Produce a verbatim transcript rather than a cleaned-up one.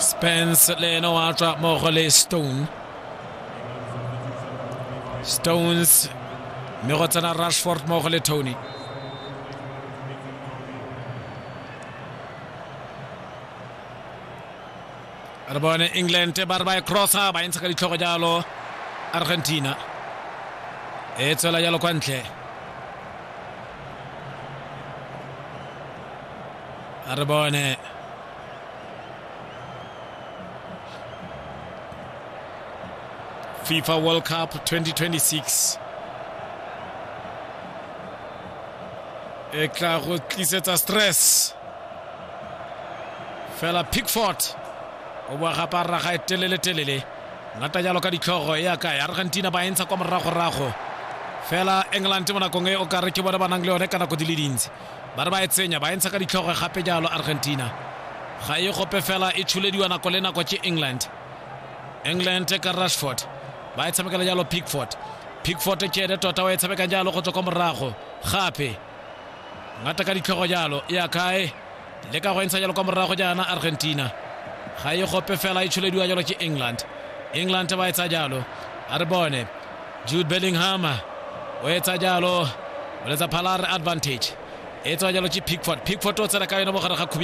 Spence le ene wa tswa mmogo le Stone Stones, mme go tsena Rashford mmogo le Tony. Re bone England ba re ba e crossa, ba e ntsha ka ditlhogo jalo. Argentina e tswela jalo kwa ntle. A re bone FIFA World Cup twenty twenty-six e tla go tlisetsa stress fela. Pickford o boa gape a raga e telele telele, ngata jalo ka ditlhogo ya kae? Argentina ba e ntsha kwa moragorago fela. England mo nakong e o kare ke bone ba nang le yone ka nako di le dintsi. Ba re ba e tsenya, ba e ntsha ka ditlhogo gape jalo. Argentina ga e gope fela, e tsholediwa nako le nako ke England. England ka Rashford ba e tshamekela jalo. Pickford, Pickford ke ene tota wa e tshamekang jalo go tswa kwa morago gape, ngata ka ditlhogo jalo ya kae? Le ka go e ntsha jalo kwa morago jaana. Argentina ga e gope fela, e tsholediwa jalo ke England. England ba e tsa jalo. A re bone Jude Bellingham o etsa jalo, o letsa phala re advantage. E tswa jalo ke Pickford. Pickford o tsena ka yone mo gare ga khubi.